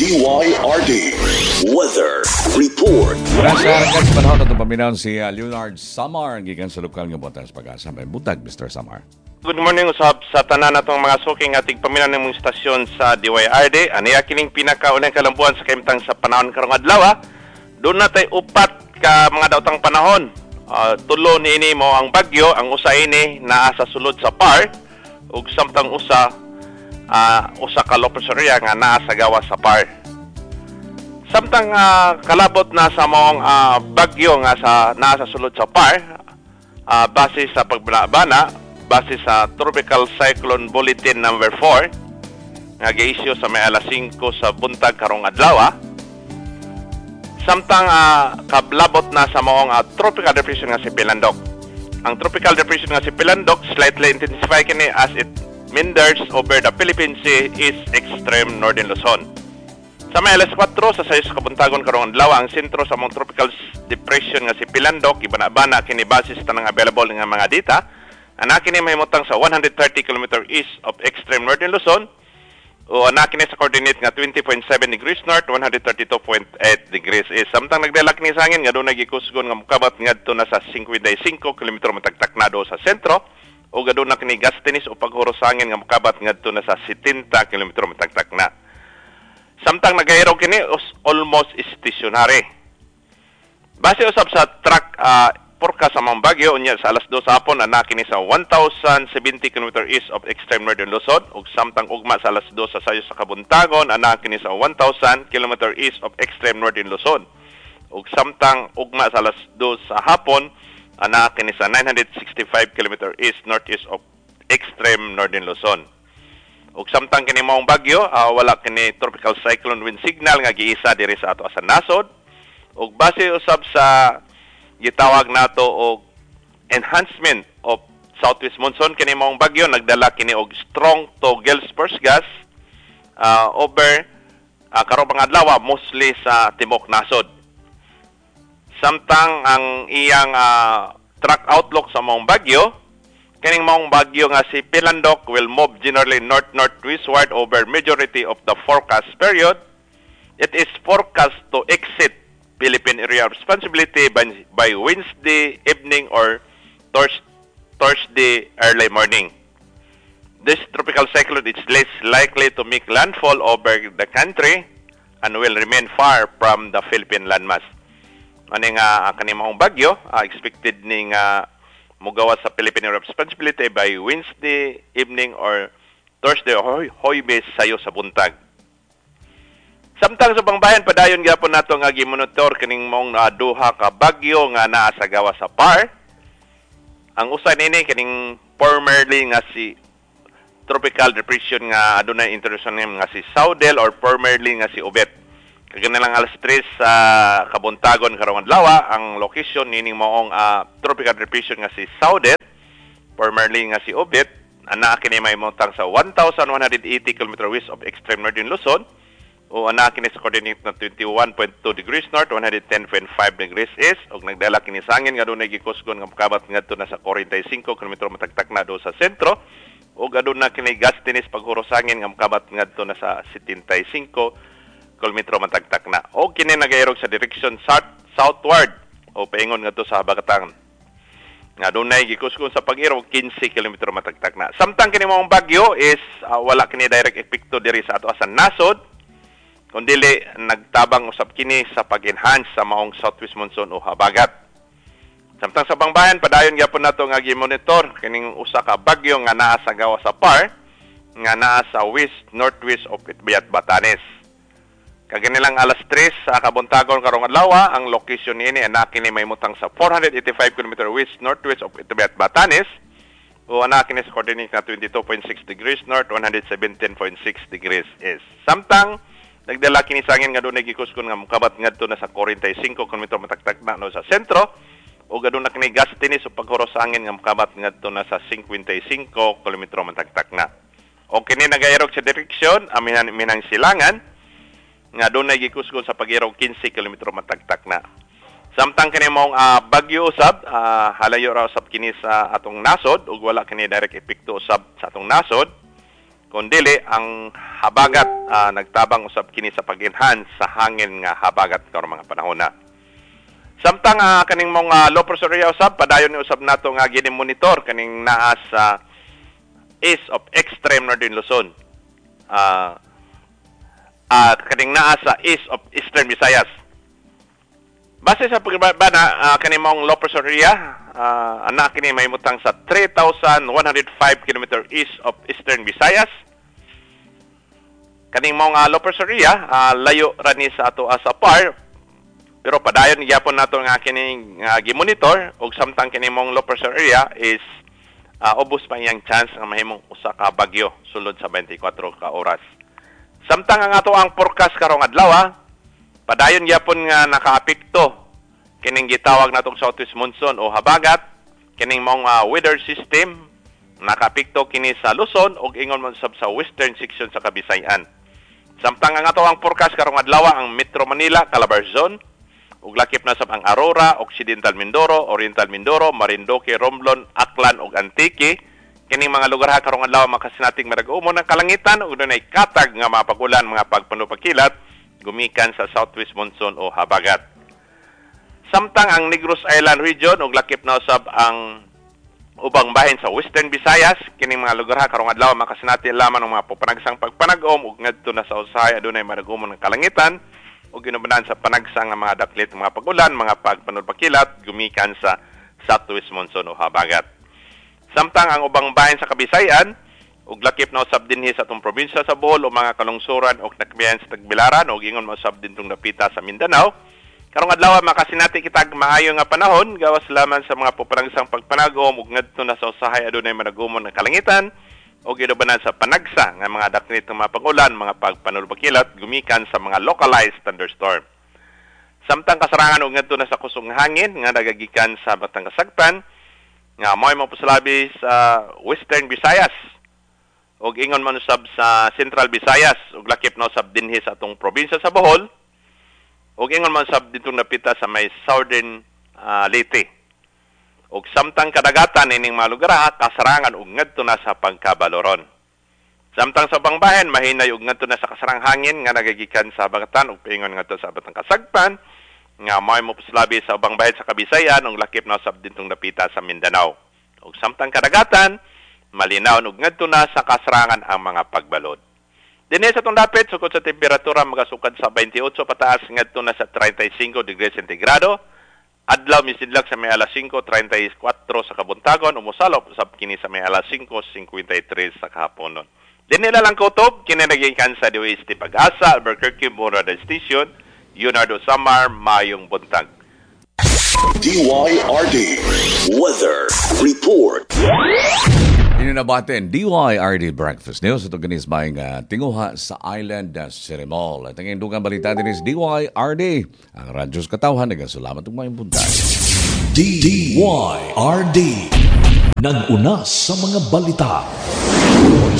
DYRD Weather Report. Nasa harakat sa panahon na paminaw si Leonard Samar gikan sa lokal nga butan sa Pag-asa. Maayong buntag, Mr. Samar. Good morning usab sa tanan natong mga suki nga tigpaminaw ng mong istasyon sa DYRD. Aniya kining pinakaunang kalambuan sa kahimtang sa panahon karong adlaw. Duna tay upat ka mga daotang panahon. Tulo niini mao ang bagyo, ang usa ini naa sa sulod sa PAR ug samtang usa usa ka low pressure area nga naa sa gawas sa PAR. Samtang kalabot na sa maong bagyo nga sa naa sa sulod sa PAR, base sa pagbana, base sa Tropical Cyclone Bulletin number 4 nga gi-issue sa may alas 5 sa buntag karong adlaw. Samtang kablabot na sa maong tropical depression nga si Pilandok. Ang tropical depression nga si Pilandok slightly intensify kini as it meanders over the Philippine Sea east extreme northern Luzon. Sa may alas 4 sa sayo sa kabuntagon karong adlaw, ang sentro sa maong tropical depression nga si Pilandok ibana-bana kini base sa tanang available nga mga data. Ana kini mahimutang sa 130 km east of extreme northern Luzon o ana kini sa coordinate nga 20.7 degrees north, 132.8 degrees east. Samtang nagdala kini sa hangin nga dunay gikusgon nga mokabat ngadto na sa 55 km matagtak na do sa sentro o aduna kini gustiness o paghuros sa hangin nga mokabat ngadto na sa 70 km matagtak na. Samtang nagairog kini almost stationary. Base usab sa track forecast sa mga bagyo unya sa alas 2 sa hapon, ana kini sa 1070 km east of extreme northern Luzon ug samtang ugma sa alas 2 sa sayo sa kabuntagon, ana kini sa 1000 km east of extreme northern Luzon ug samtang ugma sa alas 2 sa hapon, ana kini sa 965 km east northeast of extreme northern Luzon. Ug samtang kini maong bagyo, wala kini tropical cyclone wind signal nga giisa diri sa ato sa nasod. Ug base usab sa gitawag nato og enhancement of southwest monsoon, kini maong bagyo nagdala kini og strong to gale force gust over karong mga adlaw, mostly sa timok nasod. Samtang ang iyang track outlook sa maong bagyo, kining maong bagyo nga si Pilandok will move generally north-northwestward over majority of the forecast period. It is forecast to exit Philippine Area of Responsibility by Wednesday evening or Thursday early morning. This tropical cyclone is less likely to make landfall over the country and will remain far from the Philippine landmass. Ani nga kani maong bagyo expected ni nga mugawas sa Philippine Area of Responsibility by Wednesday evening or Thursday or Huwebes sayo sa buntag. Samtang sa pangbayan, padayon gyapon nato nga gimonitor kining maong duha ka bagyo nga naa sa gawas sa PAR. Ang usa nini kining formerly nga si tropical depression nga adunay international name nga si Saudel or formerly nga si Obet. Kaganilang alas 3 sa kabuntagon karong adlaw, ang location nining maong tropical depression nga si Saudel, formerly nga si Obet, ana kini mahimutang sa 1,180 km west of extreme northern Luzon o ana kini sa coordinate na 21.2 degrees north, 110.5 degrees east ug nagdala kini sa hangin nga dunay gikusgon nga mokabat ngadto na sa 45 km matagtak na do sa sentro ug aduna kini gustiness paghuros sa hangin nga mokabat ngadto na sa 75 km matagtak na. O kini nagairog sa direction south southward o paingon ngadto sa habagatan nga dunay gikusgon sa pag-irog 15 km matagtak na. Samtang kini maong bagyo is wala kini direct epekto diri sa ato sa nasod, kundili nagtabang usab kini sa pag-enhance sa maong southwest monsoon o habagat. Samtang sa pangbayan, padayon gyapon nato nga gi-monitor kining usa ka bagyo nga naa sa gawas sa PAR nga naa sa west northwest of Itbayat, Batanes. Kaganilang alas 3 sa kabuntagon karong adlaw, ang location niini ana kini mahimutang sa 485 km west northwest of Itbayat, Batanes o ana kini sa coordinate na 22.6 degrees north, 117.6 degrees east. Samtang nagdala kini sa hangin nga dunay gikusgon nga mokabat ngadto na sa 45 km matagtak na no sa sentro o aduna kini gustiness o paghuros sa hangin nga mokabat ngadto na sa 55 km matagtak na. O kini nagairog sa direksyon amihan minang silangan nga dunay gikusgon sa pag-irog 15 km matagtak na. Samtang kini maong bagyo usab, halayo ra usab kini sa atong nasod ug wala kini direct epekto usab sa atong nasod. Kundi Kung dili ang habagat, nagtabang usab kini sa pag-enhance sa hangin nga habagat karong mga panahon na. Samtang kaning mga low pressure area usab, padayon ni usab nato nga gini-monitor kaning naa sa east of extreme northern Luzon. Kaning naa sa east of eastern Visayas. Base sa pagbana, kaning mong low pressure area, anak kini mahimutang sa 3,105 km east of eastern Visayas. Kaning mong low pressure area, layo ra ni sa ato sa PAR, pero padayon gyapon nato nga kining gimonitor, ug samtang kini mong low pressure area is ubos pa iyang chance nga mahimong usa ka bagyo sulod sa 24 ka oras. Samtang ang ato ang forecast karong adlaw, padayon gyapon nga nakaapekto kining gitawag natong southwest monsoon o habagat, kining mong weather system nakaapekto kini sa Luzon ug ingon man sab sa western section sa Kabisayan. Samtang ang ato ang forecast karong adlaw, ang Metro Manila, Calabarzon, ug lakip na sab ang Aurora, Occidental Mindoro, Oriental Mindoro, Marinduque, Romblon, Aklan ug Antique. Kining mga lugar ha karong adlaw makasinating marag-umon ang kalangitan ug dunay katag nga mapagulan mga pagpanupakilat gumikan sa southwest monsoon o habagat. Samtang ang Negros Island region ug lakip na usab ang ubang bahin sa Western Visayas, kining mga lugar ha karong adlaw makasinati lamang ng mga pupanagsang pagpanag-om ug ngadto na sa usahay adunay marag-umon ang kalangitan ug ginubanan sa panagsang nga mga daklit mga pagulan, mga pagpanulpakilat gumikan sa southwest monsoon o habagat. Samtang ang ubang bahin sa Kabisayan ug lakip na usab dinhi sa atong probinsya sa Bohol o mga kalungsuran og nakbiyan sa Tagbilaran ug ingon mausab dintong dapita sa Mindanao, karong adlaw makasinati kitag maayo nga panahon gawas lamang sa mga pupanagsang pagpanagom ug ngadto na sa usahay adunay managumon ang kalangitan ug ginubanan sa panagsa nga mga daknit ng mga pagulan, mga pagpanulpakilat gumikan sa mga localized thunderstorm. Samtang kasarangan ug ngadto na sa kusog hangin nga nagagikan sa Batang Kasagpan nga mo'y mapusalabi sa Western Visayas ug ingon man usab sa Central Visayas ug lakip na usab dinhi sa atong probinsya sa Bohol ug ingon man usab ditong napita sa may Southern Leyte. Ug samtang kadagatan ining mga lugar ha, kasarangan ug ngadto na sa pagkabaloron. Samtang sa ubang bahin mahinay ug ngadto na sa kasarang hangin nga nagagikan sa Bagatan ug paingon ngadto sa Batang Kasagpan nga mo'y mopuslabi sa ubang bahin sa Kabisayan ug lakip na usab dintong dapita sa Mindanao. Ug samtang kadagatan malinaw ug ngadto na sa kasarangan ang mga pagbalod. Dinhi sa atong dapit sukod sa temperatura magasukad sa 28 pataas ngadto na sa 35 degrees sentigrado. Adlaw misidlak sa may alas 5:34 sa kabuntagon, umusalop usab kini sa may alas 5:53 sa kahaponon. Dinhi lang kutob kini nagikan sa DOST Pag-asa, Albuquerque Radar Station, Leonardo Samar, mayong buntag. DYRD Weather Report. Ininabaten DYRD Breakfast News ito ganis may tinguha sa Island City Mall. At ang indugang balita din is DYRD. Ang radyo sa katawhan, nagkasalamat ng mayong buntag. DYRD. Nag-una sa mga balita.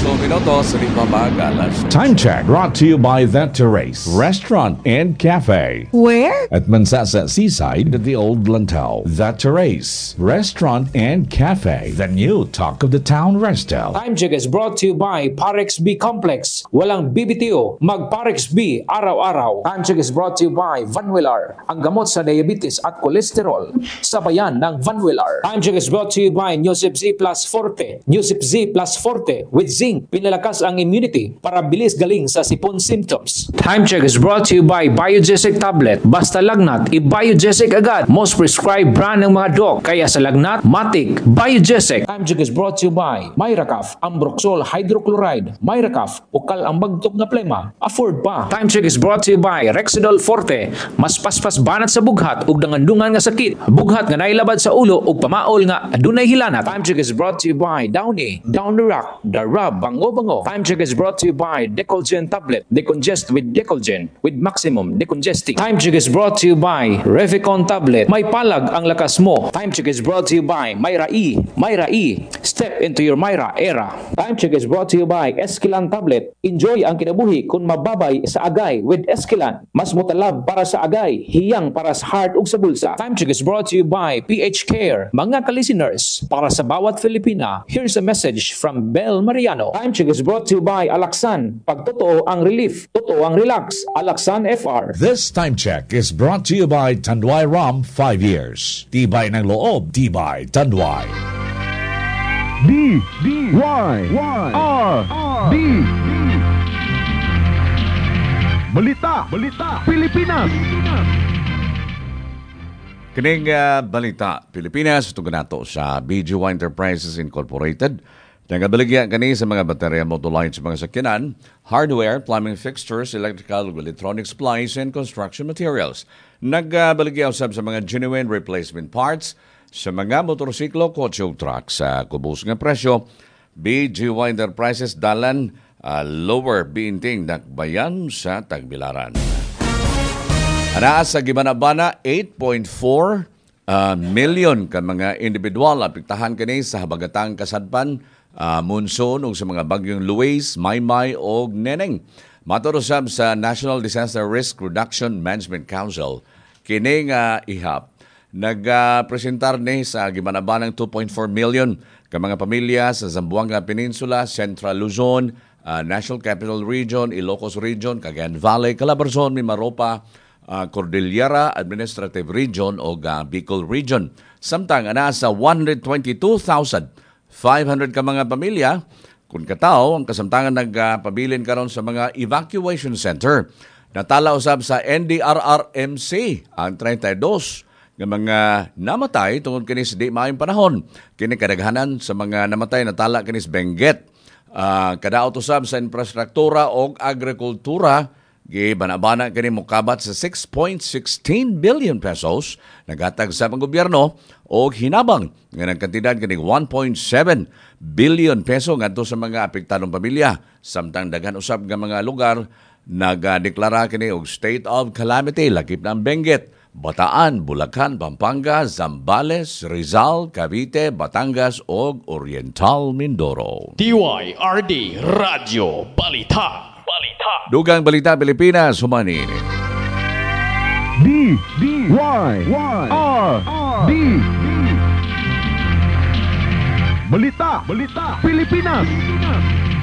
8 minutos, 5 alas. Time check brought to you by That Terrace Restaurant and Cafe. Where? At Mansasa Seaside at the Old Lantau. That Terrace Restaurant and Cafe. The new talk of the town resto. Time check is brought to you by Parex B Complex. Walang BBTO. Mag Parex B araw-araw. Time check is brought to you by Vanwillar. Ang gamot sa diabetes at kolesterol. Sa bayan ng Vanwillar. Time check is brought to you by Newsip Z Plus Forte. Newsip Z Plus Forte with zinc. Pinalakas ang immunity para bilis galing sa sipon symptoms. Time check is brought to you by Biogesic Tablet. Basta lagnat, i-Biogesic agad. Most prescribed brand ng mga doc. Kaya sa lagnat, matik, Biogesic. Time check is brought to you by Myracaf, Ambroxol Hydrochloride. Myracaf, ukal ang bagtok nga plema. Afford pa. Time check is brought to you by Rexidol Forte. Mas paspas banat sa bughat ug dangandungan nga sakit. Bughat nga nailabad sa ulo ug pamaol nga adunay hilanat. Time check is brought to you by Downy, Down the Rock, The Rub, Bango Bango. Time check is brought to you by Decolgen Tablet. Decongest with Decolgen with maximum decongesting. Time check is brought to you by Revicon Tablet. May palag ang lakas mo. Time check is brought to you by Myra E. Myra E. Step into your Myra era. Time check is brought to you by Esquilan Tablet. Enjoy ang kinabuhi kung mababay sa agay with Esquilan. Mas mutalab para sa agay, hiyang para sa heart ug sa bulsa. Time check is brought to you by PH Care. Mga ka-listeners, para sa bawat Filipina, here's a message from Bell Ariel Mariano. Time check is brought to you by Alaxan. Pag totoo ang relief, totoo ang relax. Alaxan FR. This time check is brought to you by Tanduay Rum 5 Years. Tibay ng loob, tibay Tanduay. D D Y Y R D. Balita, Balita, Pilipinas. Kining balita, Pilipinas, ito nato sa BGY Enterprises Incorporated. Nagabaligya kani sa mga baterya, motor lights, mga sakyanan, hardware, plumbing fixtures, electrical, electronic supplies, and construction materials. Nagabaligya usab sa mga genuine replacement parts sa mga motorsiklo, kotse ug truck sa kubos nga presyo. BGY Enterprises, dalan Lower Biinting, Dakbayan sa Tagbilaran. Anaa sa gibanabana, 8.4 million ka mga individual apektahan kini sa habagatang kasadpan, monsoon ug sa mga bagyong Luis, Maymay ug Neneng. Matod usab sa National Disaster Risk Reduction Management Council, kini nga ihap nagpresentar ni sa gibanabanang 2.4 million ka mga pamilya sa Zamboanga Peninsula, Central Luzon, National Capital Region, Ilocos Region, Cagayan Valley, Calabarzon, Mimaropa, Cordillera Administrative Region o Bicol Region. Samtang ana sa 122,500 ka mga pamilya kung katawo ang kasamtangan nagpabilin karon sa mga evacuation center. Natala usab sa NDRRMC ang 32 nga mga namatay tungod kini sa di maayong panahon. Kini kadaghanan sa mga namatay natala kini sa Benguet. Kadaot usab sa infrastruktura og agrikultura gibanabana kini mokabat sa 6.16 billion pesos naghatag sa ang gobyerno og hinabang nga nagkantidad kini 1.7 billion peso ngadto sa mga apektadong pamilya. Samtang daghan usab nga mga lugar nagadeklara kini og state of calamity lakip ng Benguet, Bataan, Bulacan, Pampanga, Zambales, Rizal, Cavite, Batangas ug Oriental Mindoro. DYRD Radyo Balita. Balita. Dugang Balita Pilipinas, humanin. D D Y Y R D. Balita, Balita, Pilipinas.